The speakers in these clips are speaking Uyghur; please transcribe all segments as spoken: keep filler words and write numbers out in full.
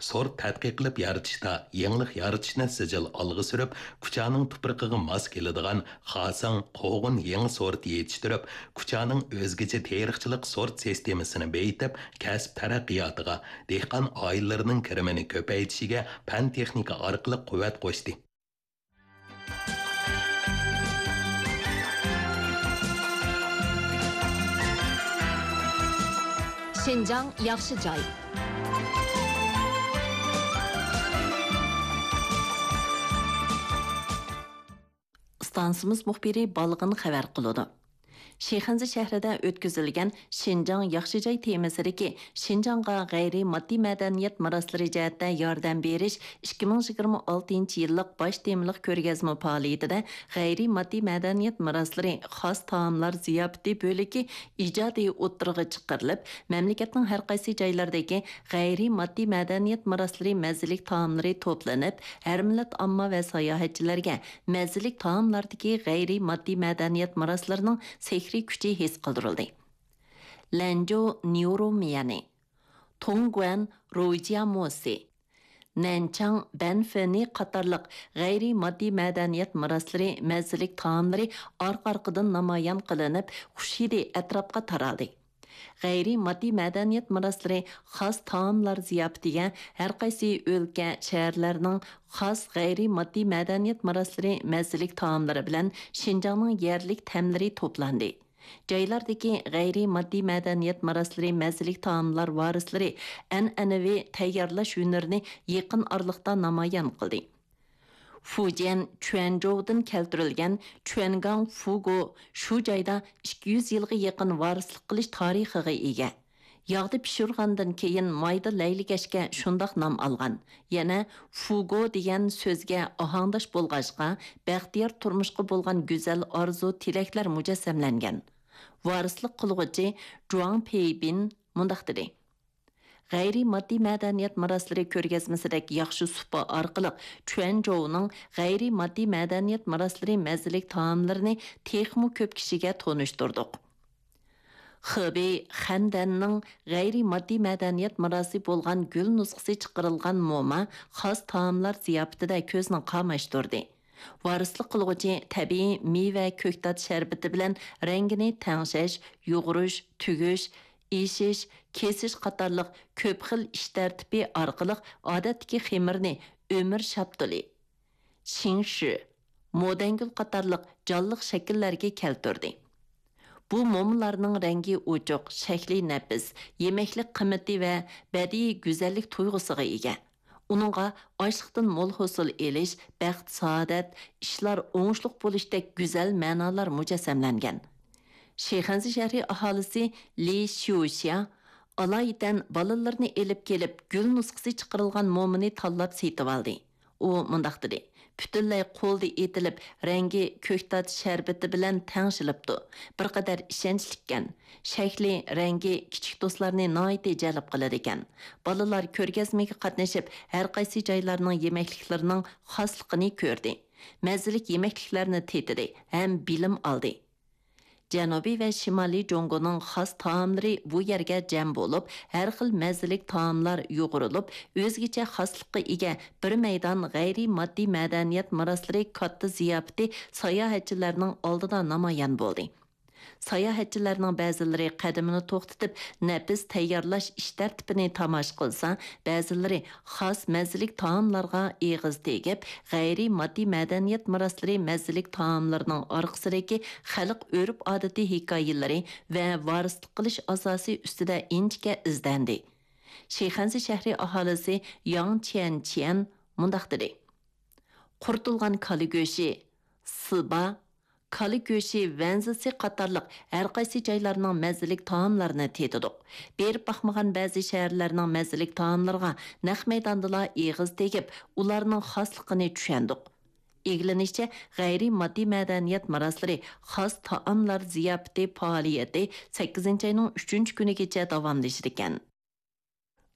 سورت تەتقىق قىلىپ يارىتىشتا يېڭىلىق يارىتىشنى سىجىل ئالغا سۈرۈپ، كۇچانىڭ تۇپرىقىغا ماس كېلىدىغان خاسىڭ، قوغۇن يېڭى سورتى يېتىشتۈرۈپ، كۇچانىڭ ئۆزگىچە تېرىقچىلىق سورت سىستېمىسىنى بېيىتىپ، كەسىپ تەرەققىياتىغا، دېھقان ئائىلىلىرىنىڭ كىرىمىنى كۆپەيتىشىگە پەن-تېخنىكا ئارقىلىق قۇۋۋەت قوشتى. شىنجاڭ ياخشى جاي. ئىستانسىمىز مۇخبىرى بالغىن خەۋەر قىلىدۇ. شىخەنزە شەھىرىدە ئۆتكۈزۈلگەن شىنجاڭ ياخشى جاي تېمىسىدىكى شىنجاڭغا غەيرىي ماددىي مەدەنىيەت مىراسلىرى جەھەتتە ياردەم بېرىش ئىككى مىڭ يىگىرمە ئالتىنچى يىللىق باش تېمىلىق كۆرگەزمە پائالىيىتىدە غەيرىي ماددىي مەدەنىيەت مىراسلىرى خاس تائاملار زىياپىتى بۆلىكى ئىجادىي ئوتتۇرىغا چىقىرىلىپ، مەملىكەتنىڭ ھەر قايسى جايلىرىدىكى غەيرىي ماددىي مەدەنىيەت مىراسلىرى مەززىلىك تائاملىرى توپلىنىپ، ھەر مىللەت ئامما ۋە ساياھەتچىلەرگە مەززىلىك تائاملاردىكى غەيرىي ماددىي مەدەنىيەت مىراسلىرىنىڭ سېھرىي كۈچى ھېس قىلدۇرۇلدى. لەنجۇ نيۇرۇ ميەنى، تۇڭگۇەن روجيا موسى، نەنچاڭ بەنفېنى قاتارلىق غەيرىي ماددىي مەدەنىيەت مىراسلىرى مەززىلىك تائاملىرى ئارقا-ئارقىدىن نامايان قىلىنىپ، خۇش ھىدى ئەتراپقا تارالدى. غەيرىي ماددىي مەدەنىيەت مىراسلىرى خاس تائاملار زىياپىتىگە ھەر قايسى ئۆلكە، شەھەرلەرنىڭ خاس غەيرىي ماددىي مەدەنىيەت مىراسلىرى مەززىلىك تائاملىرى بىلەن شىنجاڭنىڭ يەرلىك تەملىرى توپلاندى. جايلاردىكى غەيرىي ماددىي مەدەنىيەت مىراسلىرى مەززىلىك تائاملار ۋارىسلىرى ئەنئەنىۋى تەييارلاش ھۈنىرىنى يېقىن ئارىلىقتا نامايان قىلدى. فۇجيەن چۈەنجوۋدىن كەلتۈرۈلگەن چۈەنگاڭ فۇگو شۇ جايدا ئىككى يۈز يىلغا يېقىن ۋارىسلىق قىلىش تارىخىغا ئىگە. ياغدا پىشۇرغاندىن كېيىن مايدا لەيلىگەچكە شۇنداق نام ئالغان. يەنە فۇگو دېگەن سۆزگە ئاھاڭداش بولغاچقا، بەختىيار تۇرمۇشقا بولغان گۈزەل ئارزۇ-تىلەكلەر مۇجەسسەملەنگەن. ۋارىسلىق قىلغۇچى جۇاڭ پېيبىن مۇنداق دېدى: غەيرىي ماددىي مەدەنىيەت مىراسلىرى كۆرگەزمىسىدەك ياخشى سۇپا ئارقىلىق چۈەنجوۋنىڭ غەيرىي ماددىي مەدەنىيەت مىراسلىرى مەززىلىك تائاملىرىنى تېخىمۇ كۆپ كىشىگە تونۇشتۇردۇق. خېبېي خەندەننىڭ غەيرىي ماددىي مەدەنىيەت مىراسى بولغان گۈل نۇسخىسى چىقىرىلغان موما خاس تائاملار زىياپىتىدە كۆزنى قاماشتۇردى. ۋارىسلىق قىلغۇچى تەبىئىي مېۋە كۆكتات شەربىتى بىلەن رەڭگىنى تەڭشەش، يۇغۇرۇش، تۈگۈش، ئېشىش، كېسىش قاتارلىق كۆپ خىل ئىش تەرتىپى ئارقىلىق ئادەتتىكى خېمىرنى ئۆمۈر شاپتۇلى، شىڭشۈ، مودەنگۈل قاتارلىق جانلىق شەكىللەرگە كەلتۈردى. بۇ مومىلارنىڭ رەڭگى ئوچۇق، شەكلى نەپىس، يېمەكلىك قىممىتى ۋە بەدىئىي گۈزەللىك تۇيغۇسىغا ئىگە. ئۇنىڭغا ئاشلىقتىن مول ھوسۇل ئېلىش، بەخت-سائادەت، ئىشلار ئوڭۇشلۇق بولۇشتەك گۈزەل مەنالار مۇجەسسەملەنگەن. شىخەنزە شەھىرى ئاھالىسى لى شيۇشيا ئالايىتەن بالىلىرىنى ئېلىپ كېلىپ، گۈل نۇسخىسى چىقىرىلغان مومىنى تاللاپ سېتىۋالدى. ئۇ مۇنداق دېدى: پۈتۈنلەي قولدا ئېتىلىپ، رەڭگى كۆكتات شەربىتى بىلەن تەڭشىلىپتۇ. بىر قەدەر ئىشەنچلىككەن. شەكلى، رەڭگى كىچىك دوستلارنى ناھايىتى جەلپ قىلىدىكەن. بالىلار كۆرگەزمىگە قاتنىشىپ، ھەر قايسى جايلارنىڭ يېمەكلىكلىرىنىڭ خاسلىقىنى كۆردى. مەززىلىك يېمەكلىكلەرنى تېتىدى ھەم بىلىم ئالدى. جەنۇبىي ۋە شىمالىي جۇڭگونىڭ خاس تائاملىرى بۇ يەرگە جەم بولۇپ، ھەر خىل مەززىلىك تائاملار يۇغۇرۇلۇپ، ئۆزگىچە خاسلىققا ئىگە بىر مەيدان غەيرىي ماددىي مەدەنىيەت مىراسلىرى كاتتا زىياپىتى ساياھەتچىلەرنىڭ ئالدىدا نامايان بولدى. ساياھەتچىلەرنىڭ بەزىلىرى قەدىمىنى توختىتىپ، نەپىس تەييارلاش ئىش تەرتىپىنى تاماشا قىلسا، بەزىلىرى خاس مەززىلىك تائاملارغا ئېغىز تېگىپ، غەيرىي ماددىي مەدەنىيەت مىراسلىرى مەززىلىك تائاملىرىنىڭ ئارقىسىدىكى خەلق ئۆرپ-ئادىتى ھېكايىلىرى ۋە ۋارىسلىق قىلىش ئاساسى ئۈستىدە ئىنچىكە ئىزدەندى. شىخەنزە شەھىرى ئاھالىسى ياڭ چيەنچيەن مۇنداق دېدى: قۇرۇتۇلغان كالا گۆشى، سىبا، كالا گۆشى ۋەنزىسى قاتارلىق ھەر قايسى جايلارنىڭ مەززىلىك تائاملىرىنى تېتىدۇق. بېرىپ باقمىغان بەزى شەھەرلەرنىڭ مەززىلىك تائاملىرىغا نەق مەيداندىلا ئېغىز تېگىپ، ئۇلارنىڭ خاسلىقىنى چۈشەندۇق. ئىگىلىنىشىچە، غەيرىي ماددىي مەدەنىيەت مىراسلىرى خاس تائاملار زىياپىتى پائالىيىتى سەككىزىنچى ئاينىڭ ئۈچىنچى كۈنىگىچە داۋاملىشىدىكەن.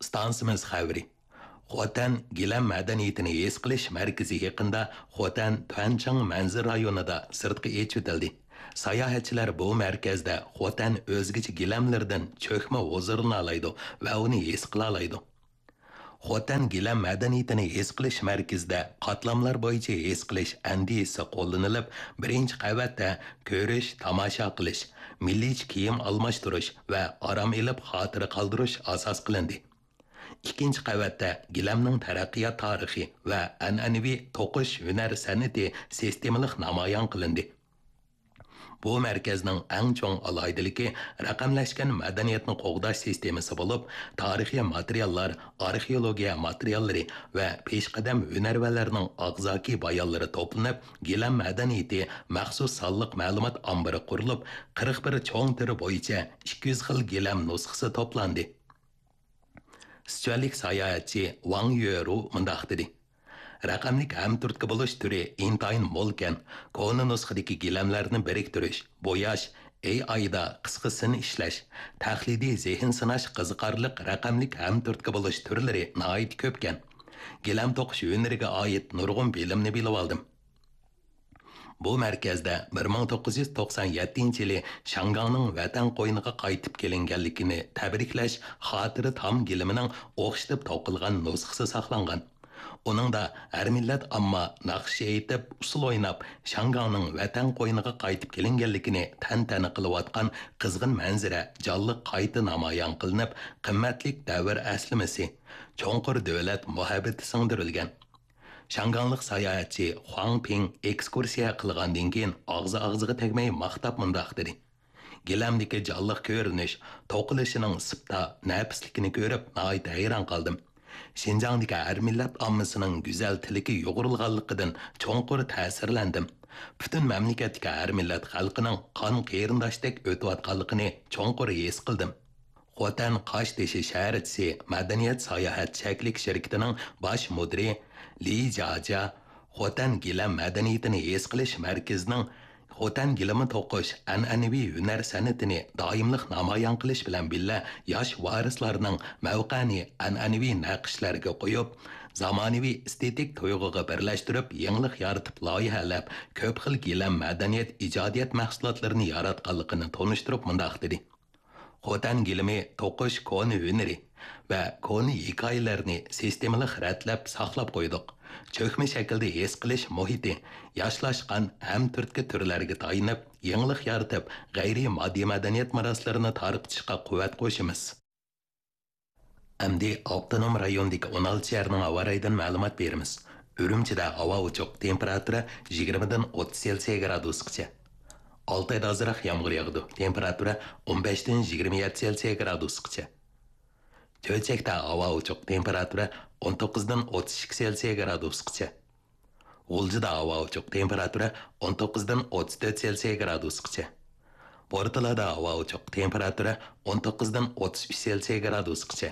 ئىستانسىمىز خەۋىرى. خوتەن گىلەم مەدەنىيىتىنى ھېس قىلىش مەركىزى يېقىندا خوتەن تۈەنچاڭ مەنزىرە رايونىدا سىرتقا ئېچىۋېتىلدى. ساياھەتچىلەر بۇ مەركەزدە خوتەن ئۆزگىچە گىلەملىرىدىن چۆكمە ھۇزۇرلىنالايدۇ ۋە ئۇنى ھېس قىلالايدۇ. خوتەن گىلەم مەدەنىيىتىنى ھېس قىلىش مەركىزىدە قاتلاملار بويىچە ھېس قىلىش ئەندىزىسى قوللىنىلىپ، بىرىنچى قەۋەتتە كۆرۈش، تاماشا قىلىش، مىللىيچە كىيىم ئالماشتۇرۇش ۋە ئارام ئېلىپ خاتىرە قالدۇرۇش ئاساس قىلىندى. ئىككىنچى قەۋەتتە گىلەمنىڭ تەرەققىيات تارىخى ۋە ئەنئەنىۋى توقۇش ھۈنەر سەنئىتى سىستېمىلىق نامايان قىلىندى. بۇ مەركەزنىڭ ئەڭ چوڭ ئالاھىدىلىكى رەقەملەشكەن مەدەنىيەتنى قوغداش سىستېمىسى بولۇپ، تارىخىي ماتېرىياللار، ئارخېئولوگىيە ماتېرىياللىرى ۋە پېشقەدەم ھۈنەرۋەنلەرنىڭ ئاغزاكى بايانلىرى توپلىنىپ، گىلەم مەدەنىيىتى مەخسۇس سانلىق مەلۇمات ئامبىرى قۇرۇلۇپ، قىرىق بىر چوڭ تۈر بويىچە ئىككى يۈز خىل گىلەم نۇسخىسى توپلاندى. سىچۈەنلىك ساياھەتچى ۋاڭ يۆرۇ مۇنداق دېدى: رەقەملىك ھەمتۈرتكە بولۇش تۈرى ئىنتايىن مولكەن، كونا نۇسخىدىكى گىلەملەرنى بىرىكتۈرۈش، بوياش، ئېي ئايدا قىسقا سىن ئىشلەش، تەقلىدىي زېھىن سىناش قىزىقارلىق رەقەملىك ھەمتۈرتكە بولۇش تۈرلىرى ناھايىتى كۆپكەن. گىلەم توقۇش ھۈنىرىگە ئائىت نۇرغۇن بىلىمنى بىلىۋالدىم. بۇ مەركەزدە بىر مىڭ توققۇز يۈز توقسان يەتتىنچى يىلى شياڭگاڭنىڭ ۋەتەن قوينىغا قايتىپ كېلىنگەنلىكىنى تەبرىكلەش خاتىرە تام گىلىمىنىڭ ئوخشىتىپ توقۇلغان نۇسخىسى ساقلانغان. ئۇنىڭدا ھەر مىللەت ئامما ناخشا ئېيتىپ، ئۇسسۇل ئويناپ، شياڭگاڭنىڭ ۋەتەن قوينىغا قايتىپ كېلىنگەنلىكىنى تەنتەنە قىلىۋاتقان قىزغىن مەنزىرە جانلىق قايتا نامايان قىلىنىپ، قىممەتلىك دەۋر ئەسلىمىسى، چوڭقۇر دۆلەت مۇھەببىتى سىڭدۈرۈلگەن. شياڭگاڭلىق ساياھەتچى خۇاڭ پىڭ ئېكسكۇرسىيە قىلغاندىن كېيىن ئاغزى ئاغزىغا تەگمەي ماختاپ مۇنداق دېدى: گىلەمدىكى جانلىق كۆرۈنۈش، توقۇلۇشىنىڭ سىپتا، نەپىسلىكىنى كۆرۈپ ناھايىتى ھەيران قالدىم. شىنجاڭدىكى ھەر مىللەت ئاممىسىنىڭ گۈزەل تىلىكى يۇغۇرۇلغانلىقىدىن چوڭقۇر تەسىرلەندىم. پۈتۈن مەملىكەتتىكى ھەر مىللەت خەلقىنىڭ قان قېرىنداشتەك ئۆتۈۋاتقانلىقىنى چوڭقۇر ھېس قىلدىم. خوتەن قاشتېشى شەھەرچىسى، مەدەنىيەت ساياھەت چەكلىك شىركىتىنىڭ باش مۇدىرى لى جاجيا خوتەن گىلەم مەدەنىيىتىنى ھېس قىلىش مەركىزىنىڭ خوتەن گىلىمى توقۇش ئەنئەنىۋى ھۈنەر سەنئىتىنى دائىملىق نامايان قىلىش بىلەن بىللە، ياش ۋارىسلارنىڭ مەۋقەنى ئەنئەنىۋى نەقىشلەرگە قويۇپ، زامانىۋى ئېستېتىك تۇيغۇغا بىرلەشتۈرۈپ، يېڭىلىق يارىتىپ لايىھەلەپ، كۆپ خىل گىلەم مەدەنىيەت ئىجادىيەت مەھسۇلاتلىرىنى ياراتقانلىقىنى تونۇشتۇرۇپ مۇنداق دېدى: خوتەن گىلىمى توقۇش كونا ھۈنىرى ۋە كونا ھېكايىلەرنى سىستېمىلىق رەتلەپ ساقلاپ قويدۇق. چۆكمە شەكىلدە ھېس قىلىش مۇھىتى، ياشلاشقان ھەم تۈرتكە تۈرلەرگە تايىنىپ، يېڭىلىق يارىتىپ، غەيرىي ماددىي مەدەنىيەت مىراسلىرىنى تارقىتىشقا قۇۋۋەت قوشىمىز. ئەمدى ئاپتونوم رايوندىكى ئون ئالتە شەھەرنىڭ ھاۋا رايىدىن مەلۇمات بېرىمىز. ئۈرۈمچىدە ھاۋا ئوچۇق، تېمپېراتۇرا يىگىرمىدىن ئوتتۇز سېلسىيە گرادۇسقىچە. ئالتايدا ئازراق يامغۇر ياغىدۇ، تېمپېراتۇرا ئون بەشتىن يىگىرمە يەتتە سېلسىيە گرادۇسقىچە. چۆچەكتە ھاۋا ئوچۇق، تېمپېراتۇرا ئون توققۇزدىن ئوتتۇز ئىككى سېلسىيە گرادۇسقىچە. غۇلجىدا ھاۋا ئوچۇق، تېمپېراتۇرا ئون توققۇزدىن ئوتتۇز تۆت سېلسىيە گرادۇسقىچە. بورتالادا ھاۋا ئوچۇق، تېمپېراتۇرا ئون توققۇزدىن ئوتتۇز ئۈچ سېلسىيە گرادۇسقىچە.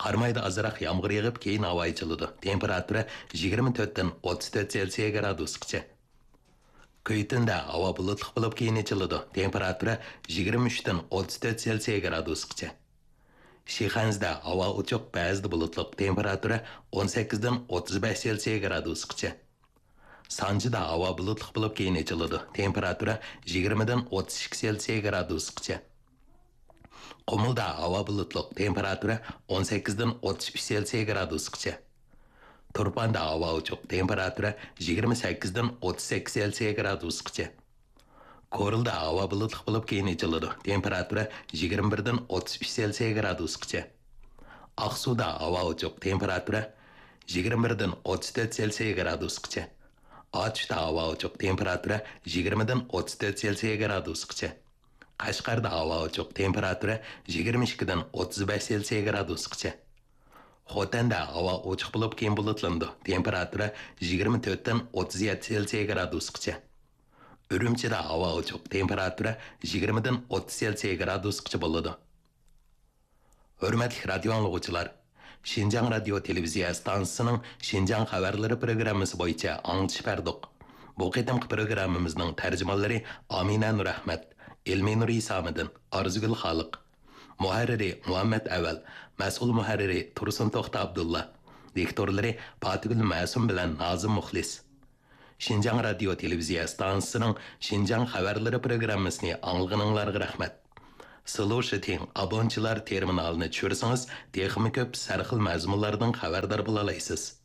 قارامايدا ئازراق يامغۇر يېغىپ، كېيىن ھاۋا ئېچىلىدۇ، تېمپېراتۇرا يىگىرمە تۆتتىن ئوتتۇز تۆت سېلسىيە گرادۇسقىچە. كۈيتۈندە ھاۋا بۇلۇتلۇق بولۇپ، كېيىن ئېچىلىدۇ، تېمپېراتۇرا يىگىرمە ئۈچتىن ئوتتۇز تۆت سېلسىيە گرادۇسقىچە. شىخەنزىدە ھاۋا ئوچۇق، بەزىدە بۇلۇتلۇق، تېمپېراتۇرا ئون سەككىزدىن ئوتتۇز بەش سېلسىيە گرادۇسقىچە. سانجىدا ھاۋا بۇلۇتلۇق بولۇپ، كېيىن ئېچىلىدۇ، تېمپېراتۇرا يىگىرمىدىن ئوتتۇز ئىككى سېلسىيە گرادۇسقىچە. قۇمۇلدا ھاۋا بۇلۇتلۇق، تېمپېراتۇرا ئون سەككىزدىن ئوتتۇز ئۈچ سېلسىيە گرادۇسقىچە. تۇرپاندا ھاۋا ئوچۇق، تېمپېراتۇرا يىگىرمە سەككىزدىن ئوتتۇز سەككىز سېلسىيە گرادۇسقىچە. كورلىدا ھاۋا بۇلۇتلۇق بولۇپ، كېيىن ئېچىلىدۇ، تېمپېراتۇرا يىگىرمە بىردىن ئوتتۇز ئۈچ سېلسىيە گرادۇسقىچە. ئاقسۇدا ھاۋا ئوچۇق، تېمپېراتۇرا يىگىرمە بىردىن ئوتتۇز تۆت سېلسىيە گرادۇسقىچە. ئاتۇشتا ھاۋا ئوچۇق، تېمپېراتۇرا يىگىرمىدىن ئوتتۇز تۆت سېلسىيە گرادۇسقىچە. قەشقەردە ھاۋا ئوچۇق، تېمپېراتۇرا يىگىرمە ئىككىدىن ئوتتۇز بەش سېلسىيە گرادۇسقىچە. خوتەندە ھاۋا ئوچۇق بولۇپ، كېيىن بۇلۇتلىنىدۇ، تېمپېراتۇرا يىگىرمە تۆتتىن ئوتتۇز يەتتە سېلسىيە گرادۇسقىچە. ئۈرۈمچىدە ھاۋا ئوچۇق، تېمپېراتۇرا يىگىرمىدىن ئوتتۇز سېلسىيە گرادۇسقىچە بولىدۇ. ھۆرمەتلىك رادىيو ئاڭلىغۇچىلار، شىنجاڭ رادىيو تېلېۋىزىيە ئىستانسىسىنىڭ شىنجاڭ خەۋەرلىرى پروگراممىسى بويىچە ئاڭلىتىش بەردۇق. بۇ قېتىمقى پروگراممىمىزنىڭ تەرجىمانلىرى ئامىنە نۇرئەخمەت، ئېلمىنۇر ئىسامىدىن، ئارزۇگۈل خالىق. مۇھەررىرى مۇھەممەت ئەۋەل، مەسئۇل مۇھەررىرى تۇرسۇن توختى ئابدۇللا، دىكتورلىرى پاتىگۈل مەسۇم بىلەن نازىم مۇخلىس. شىنجاڭ رادىيو تېلېۋىزىيە ئىستانسىسىنىڭ شىنجاڭ خەۋەرلىرى پروگراممىسىنى ئاڭلىغىنىڭلارغا رەھمەت. سلۇشىتىڭ ئابونتچىلار تېرمىنالىنى چۈشۈرسىڭىز، تېخىمۇ كۆپ سەرخىل مەزمۇنلاردىن خەۋەردار بولالايسىز.